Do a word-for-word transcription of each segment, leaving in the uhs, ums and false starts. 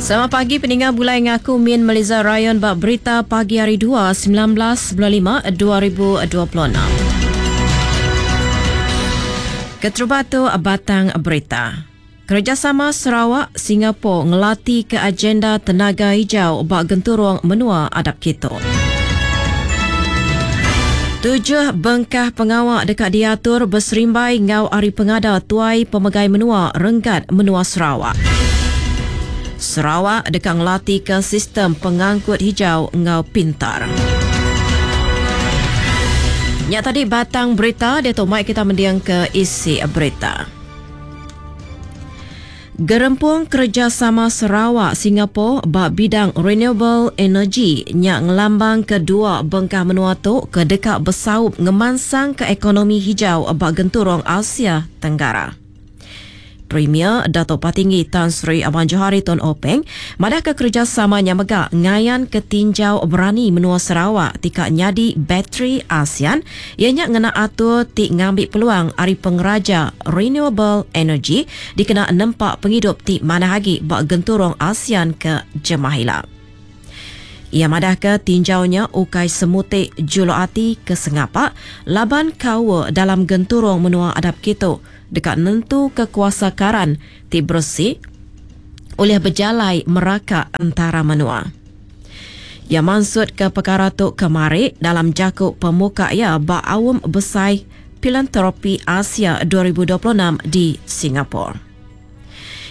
Selamat pagi peninggal bulai ngaku Min Meliza Rayon bak berita pagi hari dua sembilan belas bulan lima dua ribu dua puluh enam. Keterubatu batang berita. Kerjasama Sarawak Singapura ngelati ke agenda tenaga hijau bak genturung menua adap kitu. Tujuh bengkah pengawak dekat diatur berserimbai ngau hari pengada tuai pemegai menua renggat menua Sarawak. Sarawak dekat ngelati ke sistem pengangkut hijau ngau pintar. Nya tadi batang berita, dia tu mai kita mendiang ke isi berita. Gerempung Kerjasama Sarawak Singapura bak bidang renewable energy nya ngelambang kedua bengkah menua tu ke dekat besaup ngemansang ke ekonomi hijau bak genturung Asia Tenggara. Premier Dato' Patinggi Tan Sri Abang Johari Tun Openg madah ke kerjasamanya megak ngayan ketinjau berani menua Sarawak tika nyadi bateri ASEAN ianya ngena atur ti ngambil peluang ari pengeraja renewable energy dikena nempak penghidup ti manah agi bak genturung ASEAN ke Jemahila. Ia madah ke tinjaunya ukai semutik julu ati ke sengapa laban kawa dalam genturung menua adap kitu dekat nentu kekuasa karan ti bersih oleh berjalai meraka antara menua. Ia maksud ke perkara tu kemari dalam jakuk pemuka ia ba awam besai Filantropi Asia dua ribu dua puluh enam di Singapura.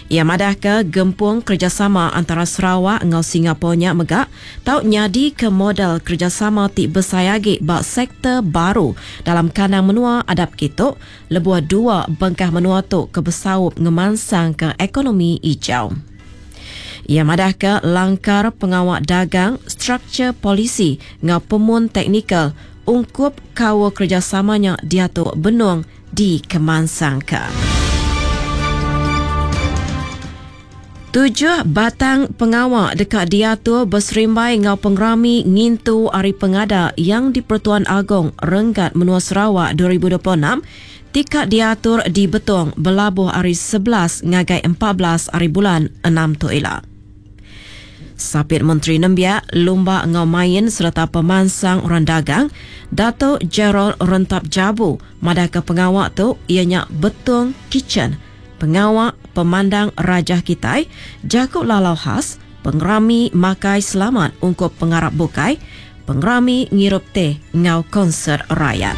Ia madah ke gempung kerjasama antara Sarawak ngau Singapura nya megak tau nyadi ke model kerjasama ti besai agi ba sektor baru dalam kandang menua adap kitu lebuh dua bengkah menua tu ke besaup ngemansang ke ekonomi hijau. Ia madah ke langkar pengawak dagang, struktur polisi ngau pemun teknikal ungkup kawa kerjasamanya diatur benung di kemansang ke. Tujuh batang pengawak dekat diatur berserimbai ngau pengerami ngintu Hari Pengada yang di Pertuan Agong Renggat Menua Sarawak dua ribu dua puluh enam tika diatur di Betong belabuh hari sebelas ngagai empat belas hari bulan enam tu ila. Sapit Menteri Nembiak, Lumba Ngau Main serta Pemansang Orang Dagang, Dato' Gerald Rentap Jabu madah ke pengawak tu ianya Betong Kitchen. Pengawak Pemandang Rajah Kitai, Jakub Lalau Khas, Pengerami Makai Selamat Ungkup Pengarap Bukai, Pengerami Ngirup Teh Ngau Konsert Rakyat.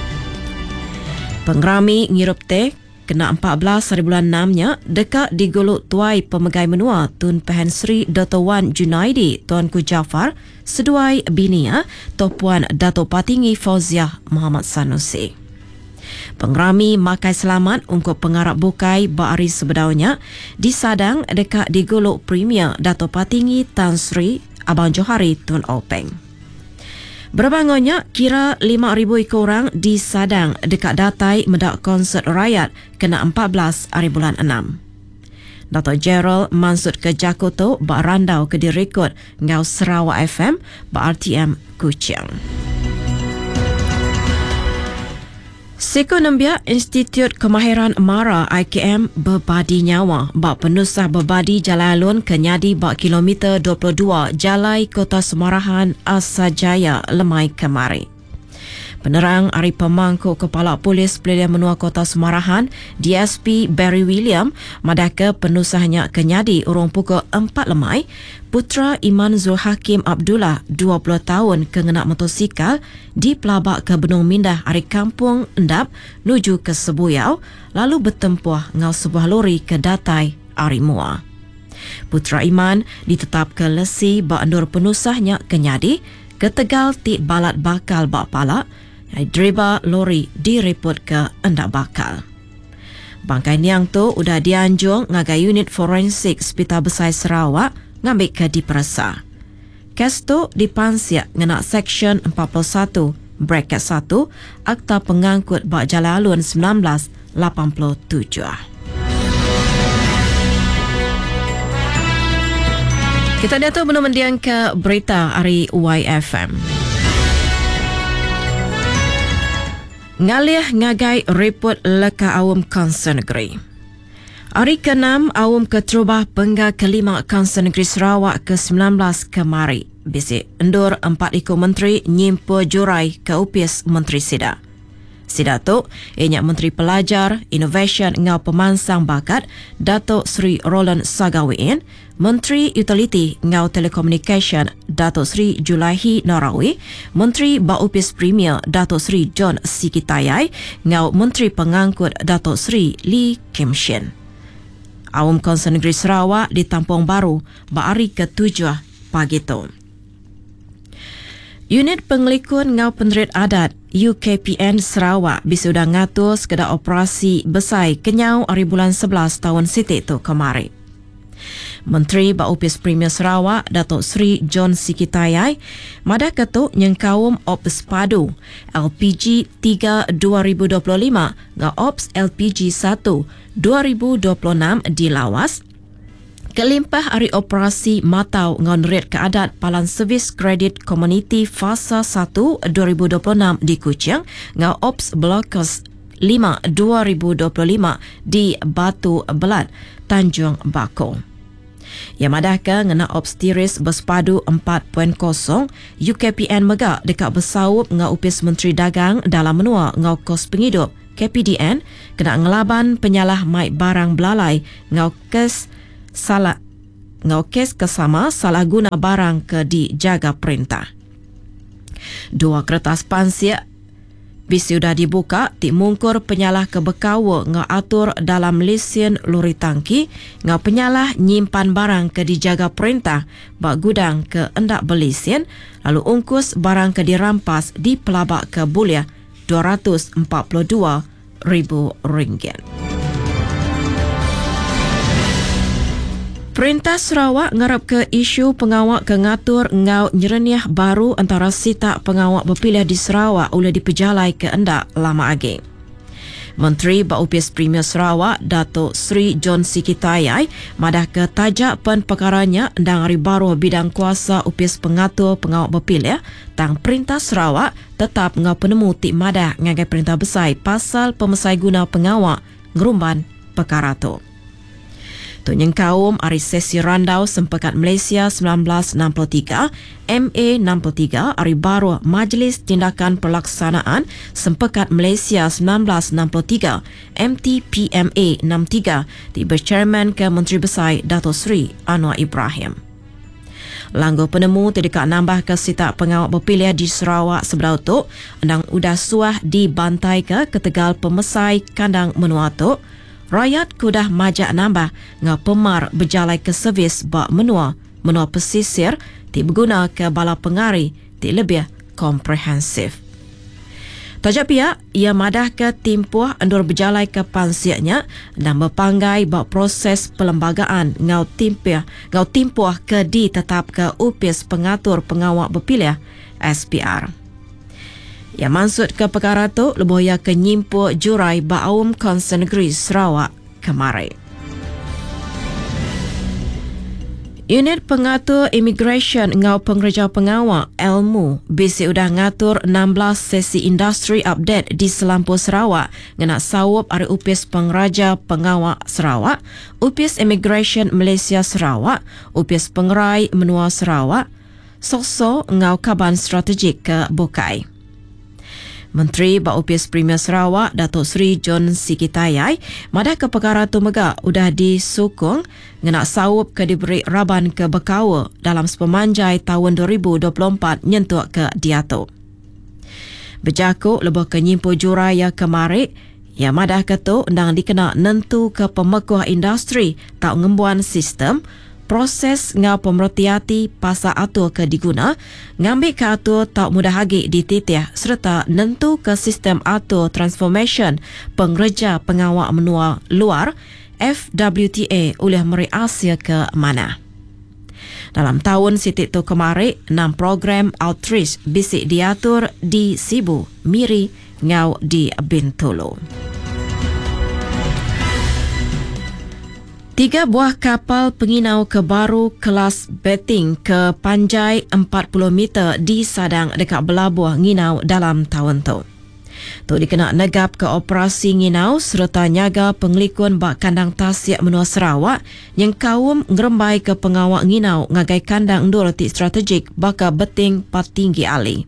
Pengerami Ngirup Teh kena empat belas hari bulan enam nya dekat diguluk tuai pemegai menua Tun Pehin Sri Doktor Wan Junaidi Tuanku Jaafar seduai binia Toh Puan Dato' Patinggi Fauziah Muhammad Sanusi. Pengerami Makai Selamat untuk pengarap bukai ba hari sebedaunya disadang dekat diguluk Premier Dato' Patinggi Tan Sri Abang Johari Tun Openg. Berbangunnya kira lima ribu ekor orang disadang dekat datai medak konsert rakyat kena empat belas hari bulan enam. Dato' Gerald mansut ke Jakoto ba randau ke direkod ngau Sarawak F M ba R T M Kuching. Seko Nembiak Institut Kemahiran Mara I K M berbadi nyawa bak penusah berbadi Jalan Alun ke nyadi bak kilometer dua puluh dua Jalai Kota Semarahan Asajaya Lemai Kemari. Penerang Ari Pemangku Kepala Polis Pelilian Menua Kota Semarahan D S P Barry William madaka penusahnya ke nyadi urung pukul empat lemai Putra Iman Zulhakim Abdullah dua puluh tahun ke ngenak motosikal di pelabak ke Benung Mindah ari Kampung Endap nuju ke Sebuyau lalu bertempuh ngau sebuah lori ke datai ari Mua. Putra Iman ditetap ke lesi ba endur penusahnya ke nyadi ketegal ti balat bakal ba palak driba lori direport ke endak bakal. Bangkai niang tu udah dianjung ngagai unit forensik Hospital Besai Sarawak ngambil ke diperesa. Kes tu dipansiak ngena Seksyen empat puluh satu bracket satu Akta Pengangkut Bak Jalan Alun sembilan belas lapan puluh tujuh. Kita dia tu belum mendiang ke berita hari Y F M. Ngalih ngagai report leka awam Council Negeri. Hari keenam Aum Keterubah Penggal Kelima Kaunsil Negeri Sarawak ke sembilan belas kemari. Bisi endur empat iku menteri nyimpul jurai ke Opis Menteri Sida. Sida tu, ianya Menteri Pelajar, Inovasyen enggau Pemansang Bakat, Datuk Seri Roland Sagah Wee Inn, Menteri Utiliti enggau Telekomunikasyen, Datuk Seri Julaihi Narawi, Menteri ba Opis Premier, Datuk Seri John Sikie Tayai enggau Menteri Pengangkut Datuk Seri Lee Kim Shin. Aum Kaunsil Negeri Sarawak ditampung baru ba hari ketujuh pagi tu. Unit Pengelikun enggau Penerit Adat U K P N Sarawak bisi udah ngatur sekeda operasi besai kenyau hari bulan sebelas tahun siti tu kemari. Menteri ba Opis Premier Sarawak Datuk Seri John Sikie Tayai madah ke tu nyengkaum Ops Padu L P G tiga dua ribu dua puluh lima enggau Ops L P G satu dua ribu dua puluh enam di Lawas. Kelimpah hari operasi matau enggau nerit ke adat Palan Servis Kredit Komuniti Fasa satu dua ribu dua puluh enam di Kuching enggau Ops Blockers lima dua ribu dua puluh lima di Batu Belat, Tanjung Bakong. Yang madah ke ngena Ops Tiris Bersepadu empat titik kosong, U K P N mega dekat bersaup enggau Opis Menteri Dagang dalam menua enggau kos penghidup K P D N kena ngelaban penyalah mai barang belalai enggau kes salah enggau kes kesama salah guna barang ke dijaga perintah. Dua kertas pansik bisi udah dibuka ti mungkur penyalah ke bekaul enggau atur dalam lesen lori tangki enggau penyalah nyimpan barang ke dijaga perintah ba gudang ke endak berlesen lalu ungkus barang ke dirampas di pelabak ke bulih dua ratus empat puluh dua ribu ringgit. Perintah Sarawak ngarap ke isu pengawak ke ngatur enggau nyerenih baru antara sitak pengawak berpilih di Sarawak oleh dipejalai ke endak lama agi. Menteri ba Opis Premier Sarawak Datuk Seri John Sikie Tayai madah ke tajak pen perkaranya endang hari baru bidang kuasa Opis Pengatur Pengawak Berpilih tang Perintah Sarawak tetap ngau penemu ti madah ngagai perintah besai pasal pemesai guna pengawak ngerumban perkara tu. Tu nyengkaum hari sesi randau Sempekat Malaysia sembilan belas enam puluh tiga, M A enam puluh tiga, hari baru Majlis Tindakan Pelaksanaan Sempekat Malaysia sembilan belas enam puluh tiga, M T P M A enam puluh tiga, di berchairman ke Menteri Besar Dato' Seri Anwar Ibrahim. Langgu penemu tidak nambah ke sitak pengawak berpilih di Sarawak sebelah tu, endang udah suah dibantai ke ketegal pemesai kandang menua tu, rakyat kudah majak nambah ngau pemar berjalai ke servis bak menua, menua pesisir ti berguna ke bala pengari ti lebih komprehensif. Tajak pihak, ia madah ke timpuh endur berjalai ke pansiaknya dan berpanggai bak proses pelembagaan ngau timpuh, ngau timpuh ke ditetap ke Upis Pengatur Pengawak Berpilih S P R. Ia maksud ke perkara tu lebuh ia ke nyimpul jurai Baum Kaunsil Negeri Sarawak kemarin. Unit Pengatur Immigration ngau Pengerja Pengawak Ilmu bisi udah ngatur enam belas sesi industri update di Selampur Sarawak ngena sawup ari Upis Pengeraja Pengawak Sarawak, Upis Immigration Malaysia Sarawak, Upis Pengerai Menua Sarawak, Sokso ngau Kaban Strategik ke Bukai. Menteri ba Opis Premier Sarawak Datuk Seri John Sikie Tayai madah ke perkara tu mega udah disukung ngena sawup ke diberi raban ke bekaul dalam sepemanjai tahun dua ribu dua puluh empat nyentuk ke diatu. Berjakuk lebih ke nyimpu juraya kemarik, ya madah ke tu endang dikena nentu ke pemekuh industri tak ngembuan sistem proses ngau pemerhati pasal atur ke diguna, ngambil ke atur tak mudah lagi dititih serta nentu ke sistem atur transformation pengerja pengawak menua luar F W T A oleh Meri Asia ke mana. Dalam tahun sitik tu kemarin, enam program outreach bisik diatur di Sibu, Miri, ngau di Bintulu. Tiga buah kapal penginau ke baru kelas betting ke panjai empat puluh meter di Sadang dekat Belabuh Nginau dalam tahun tu. Tu dikena negap ke operasi nginau sereta nyaga pengelikun ba kandang tasik menua Sarawak nyengkaum ngerembai ke pengawa nginau ngagai kandang endur ti strategik baka Beting Patinggi Ali.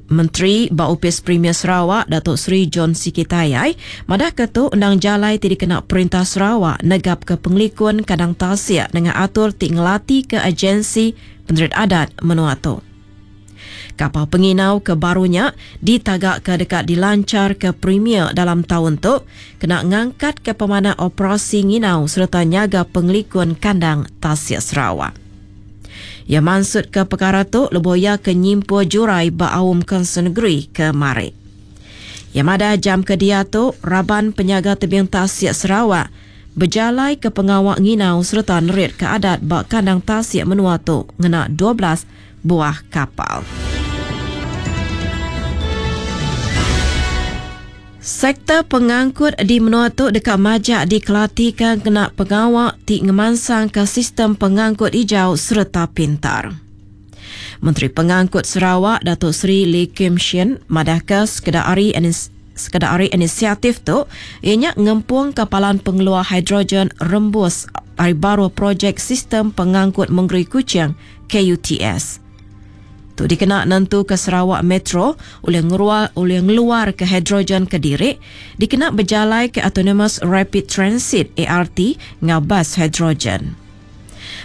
Menteri ba Opis Premier Sarawak Datuk Seri John Sikie Tayai madah ke tu endang jalai ti dikena Perintah Sarawak negap ke pengelikun kandang tasik dengan atur ti ngelati ke agensi penerit adat menua tu. Kapal penginau ke barunya ditagak ke dekat dilancar ke Premier dalam tahun tu kena ngangkat ke pemanah operasi nginau serta nyaga pengelikun kandang tasik Sarawak. Ya maksud ke perkara tu leboya ke nyimpu jurai ba awam Kaunsil Negeri ke mari. Ya madah jam ke dia tu raban penyaga tebing tasik Sarawak berjalai ke pengawak nginau serta nerit ke adat ba kandang tasik menua tu ngena dua belas buah kapal. Sektor pengangkut di menua tu dekat majak dikelatikan kena pengawak ti ngemansang ke sistem pengangkut hijau serta pintar. Menteri Pengangkut Sarawak Datuk Seri Lee Kim Shin madahka sekedar hari sekedar hari inisiatif tu ianya ngempung kapalan pengeluar hidrogen rembus hari baru projek sistem pengangkut Mengeri Kuching K U T S. Tu dikena nentu ke Sarawak Metro oleh ngeluar, oleh ngeluar ke hidrogen ke diri, dikena berjalai ke Autonomous Rapid Transit A R T ngau bas hidrogen.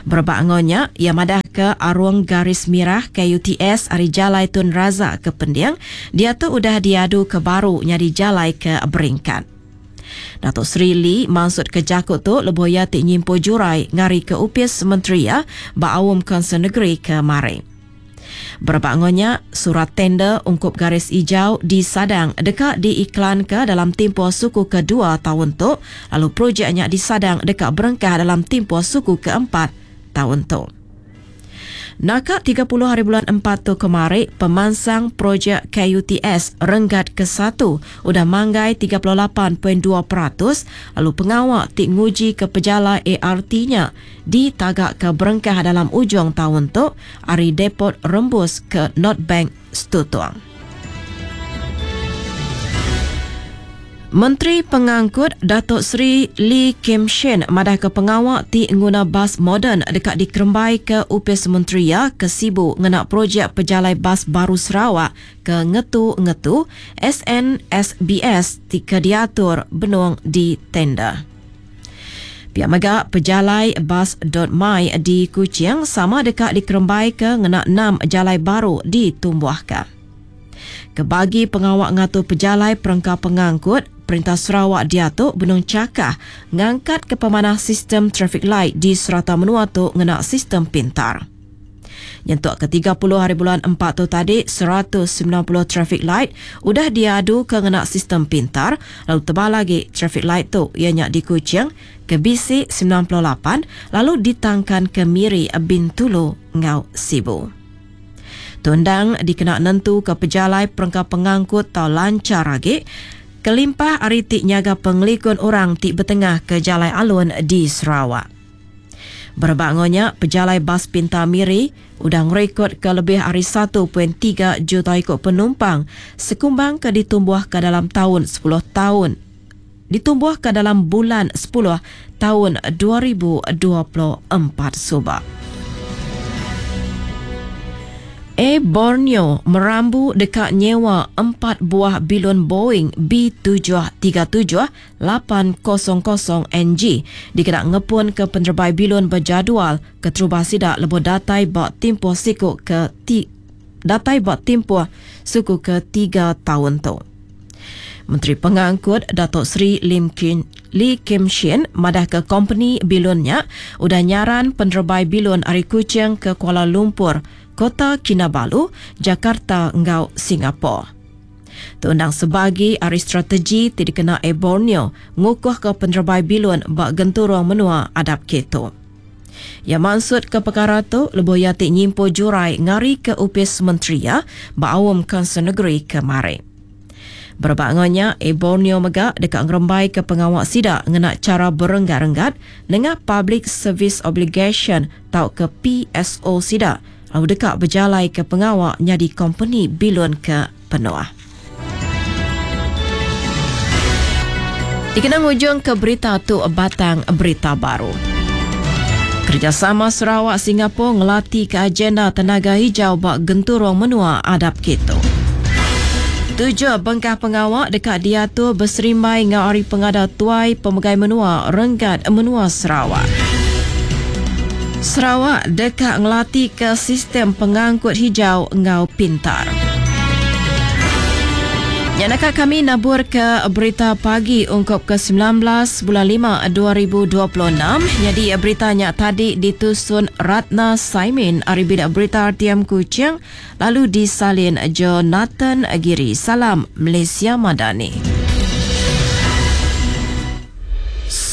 Berebak ngonya, ia madah ke arung garis merah K U T S ari jalai Tun Razak ke Pending, dia tu udah diadu ke baru nyadi jalai ke Beringkat. Datuk Seri Lee maksud ke jakut tu leboya ti nyimpu jurai ngari ke upis menteri ya ba awam Kaunsil Negeri ke mari. Berebak ngonya, surat tender ungkup garis hijau disadang dekat diiklan ke dalam tempoh suku kedua tahun tu, lalu projeknya disadang dekat berengkah dalam tempoh suku keempat tahun tu. Naka tiga puluh hari bulan empat tu kemari, pemansang projek K U T S renggat ke satu udah manggai tiga puluh lapan perpuluhan dua peratus, lalu pengawak ti nguji ke pejala A R T-nya ditagak ke berengkah dalam ujung tahun tu ari depot rembus ke North Bank Stutong. Menteri Pengangkut Datuk Seri Lee Kim Shin madah ke pengawak ti nguna bas moden dekat dikerembai ke Upis Menteri ya ke Sibu ngena projek pejalai bas baru Sarawak ke ngetu-ngetu S N S B S ti ke diatur benung di tender. Pihak mega pejalai bas dot my di Kuching sama dekat dikerembai ke ngena enam jalai baru ditumbuhkan. Kebagi pengawak ngatur pejalai perengka pengangkut, Perintah Sarawak diatu benung cakah ngangkat ke pemanah sistem traffic light di serata menua tu ngena sistem pintar. Nyentuk ke tiga puluh hari bulan empat tu tadi, seratus sembilan puluh traffic light udah diadu ke ngena sistem pintar, lalu tebal lagi traffic light tu ianya di Kuching ke B C sembilan puluh lapan, lalu ditangkan ke Miri, Bintulu ngau Sibu. Tundang dikena nentu ke pejalai perengka pengangkut tau lancar lagi, kelimpah ari ti nyaga pengelikun orang ti bertengah ke jalai alun di Sarawak. Berbangonya, pejalai bas pintar Miri udah ngerekod ke lebih ari satu perpuluhan tiga juta ikut penumpang sekumbang ke ditumbuh ke dalam tahun sepuluh tahun. Ditumbuh ke dalam bulan sepuluh tahun dua ribu dua puluh empat subak. Air Borneo merambu dekat nyewa empat buah bilon Boeing B tujuh tiga tujuh lapan kosong kosong N G dikenak ngepun ke penerbai bilon berjadual ke terubah sidak lebuh datai bak tempoh siku ke ti, datai bak tempoh suku ke tiga tahun tu. Menteri Pengangkut Datuk Seri Lim Kim, Lee Kim Shin madah ke company bilonnya udah nyaran penerbai bilon ari Kuching ke Kuala Lumpur, Kota Kinabalu, Jakarta ngau Singapura. Tundang sebagi ari strategi ti dikena Air Borneo ngukuh ke penerbai bilon bak genturung menua adap keto. Ya maksud ke perkara tu lebuh ia ti nyimpu jurai ngari ke upis menteri ya bak awam Kaunsil Negeri kemari. Berbangonya, Air Borneo mega dekat ngerembai ke pengawak sidak ngena cara berenggat-renggat dengan Public Service Obligation tau ke P S O sidak lalu dekat berjalai ke pengawak nyadi company bilon ke penuh. Dikena ngujung ke berita tu batang berita baru. Kerjasama Sarawak Singapura ngelati ke agenda tenaga hijau bak genturung menua adap kitu. Tujuh bengkah pengawak dekat diatur berserimbai ngau hari pengada tuai pemegai menua renggat menua Sarawak. Sarawak dekat ngelati ke sistem pengangkut hijau ngau pintar. Yang nak kami nabur ke berita pagi ungkup ke sembilan belas bulan lima dua ribu dua puluh enam. Jadi beritanya tadi ditusun Ratna Saimin ari bidak berita R T M Kuching lalu disalin Jonathan Giri. Salam Malaysia Madani.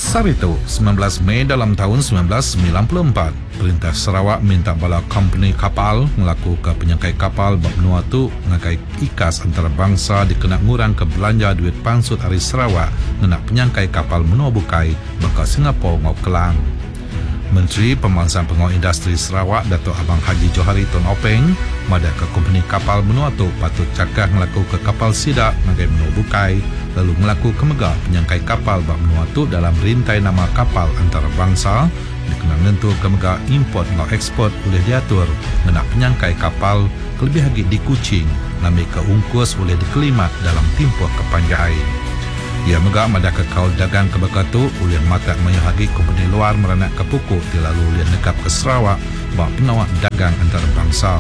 Saritu sembilan belas Mei dalam tahun sembilan belas sembilan puluh empat, Perintah Sarawak minta bala company kapal ngelaku ke penyangkai kapal bak menua tu ngagai ikas antarabangsa dikena ngurang ke belanja duit pansut ari Sarawak ngena penyangkai kapal menua bukai baka Singapura ngau Kelang. Menteri Pemansang Pengawal Industri Sarawak Datuk Abang Haji Johari Tun Openg madah ke kompeni kapal menua tu patut cakah ngelaku ke kapal sidak ngagai menua bukai lalu ngelaku ke mega penyangkai kapal bak menua tu dalam rintai nama kapal antarabangsa dikena nentu ke mega import ngau ekspor boleh diatur ngena penyangkai kapal kelebih lagi di Kuching ngambil ke ungkus boleh dikelimat dalam tempoh kepanjai. Ia mega madah ke kaul dagang ke baka tu oleh mata mayuh lagi kompeni luar meranak ke pukul ti lalu oleh negap ke Sarawak bak penawak dagang antarabangsa.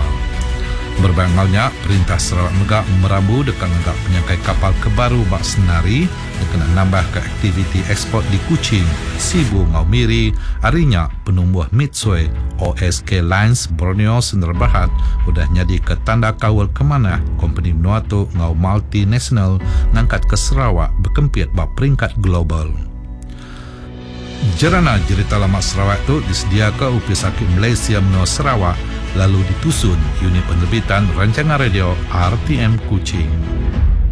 Berbangaunya, Perintah Sarawak mega merambu dekat ngagak penyangkai kapal ke baru bak Senari dikena nambah ke aktiviti ekspor di Kuching, Sibu ngau Miri, harinya penumbuh Mitsui O S K Lines Borneo Sendirian Berhad udah nyadi ke tanda kawal ke mana kompeni menua tu ngau multinational ngangkat ke Sarawak berkempit bak peringkat global. Jerana Jerita Lama Sarawak tu disediakan Upis Sakit Malaysia Menua Sarawak lalu ditusun unit penerbitan rancangan radio R T M Kuching.